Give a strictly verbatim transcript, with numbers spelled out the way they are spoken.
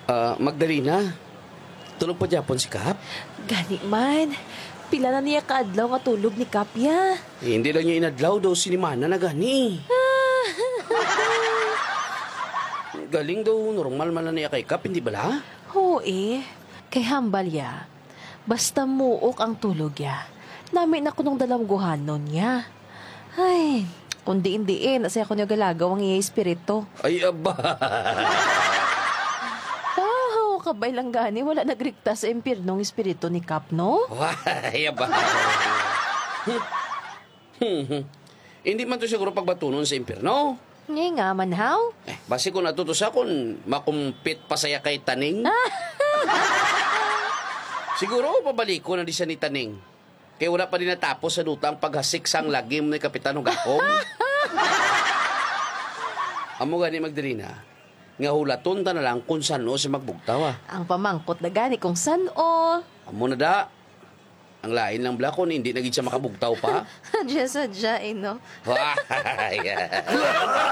Ah, Magdalena, tulog pa gyapon si Kap? Gani man. Pila na niya ka adlaw nga tulog ni Kap ya? Eh, hindi lang niya inadlaw, daw sinimana na gani. Galing daw, normal man na niya kay Kap, hindi bala? Oo eh. Kay hambal ya, basta muok ang tulog ya, nami na kunong dalamguhanon niya. Ay, kung diin-diin, sa ako niyo galagaw ang iya espiritu. Ay, aba. Wow, kabay lang gani, wala nagriktas sa impyerno ang espiritu ni Kap, no? Ay, aba. Hindi man to siguro pagbatunon sa impyerno. Ngay nga man, how? Eh, basi kung ato to sa kung makumpit pa saya kay Taning. Siguro pabaliko na di siya ni Taning. Kay wala pa din natapos sa duta ang paghasik sang lagim ni Kapitan Hugakom. Amo gani, Magdalena, nga hulaton ta na lang kung san-o siya magbugtaw, ah. Ang pamangkot na gani kung san-o. Amo na da. Ang lain lang bala kung hindi na gid siya makabugtaw pa. Sadya-sadya, eh, no? Wah!